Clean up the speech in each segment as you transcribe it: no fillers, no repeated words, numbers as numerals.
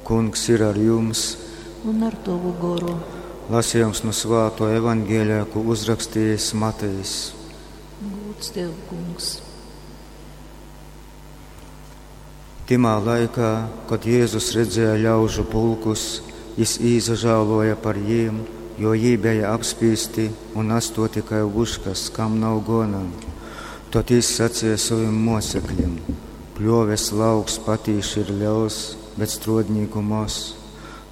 Kungs ir ar jums! Un ar tovu goru. Lasījums nu svāto evaņģēlijā, ko uzrakstījis Matejs. Gūds tev, Kungs! Timā laikā, kad Jēzus redzēja ļaužu pulkus, jis īsažāloja par jiem, jo jī beja apspīsti un atstoti kai vuškas, kam nav gona. Tad jis sacīja sovim mocekļim: Pļoves lauks patīši ir liels, bet strodnīku moz.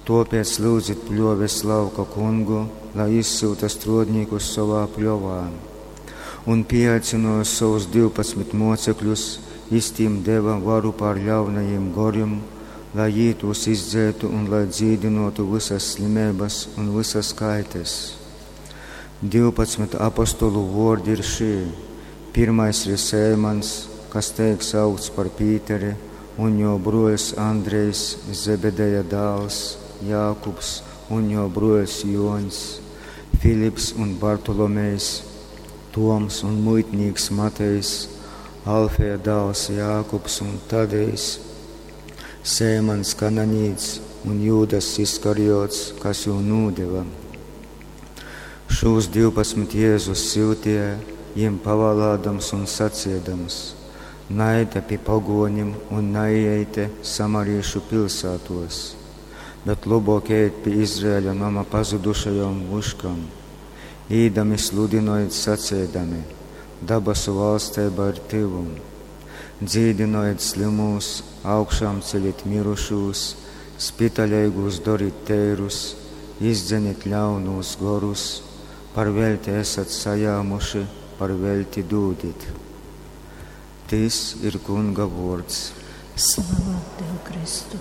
Topēc lūdzit pļoves lauka kungu, lai izsyuta strodnīkus savā pļovā. Un pieaicināja savus 12 mocekļus, jis tīm deva varu pār ļaunajiem gorim, lai jī tos izdzētu un lai dzīdinotu visas slimības un visas kaites. 12 apostolu vārdi ir šī. Pirmais ir Sēmans, kas tiek saukts par Pīteri, un jo broļs Andrejs, Zebedeja dēls, Jākubs un jo broļs Joņs, Filips un Bartolomejs, Toms un muitnīks Matejs, Alfeja dēls Jākubs un Tadejs, Sēmans Kananīts un Jūdas Iskariots, kas jū nūdeva. Šūs 12 Jēzus syutīja, jiem pavalādams un saciedams: Naite pie pagonim un naieite samariešu pilsētos, bet lobok ejiet pie Izraēļa nama pazudušajom vuškam. Īdami sludinojiet sacēdami: Dabasu valstība ir tuvu. Dzīdinojiet slimūs, augšām ceļiet mirušūs, spitaļīgūs doriet teirus, izdzenit ļaunūs gorus, par velti esat sajāmuši, par velti dūdit. Tis ir Kunga vārds. Slava Tev, Kristu!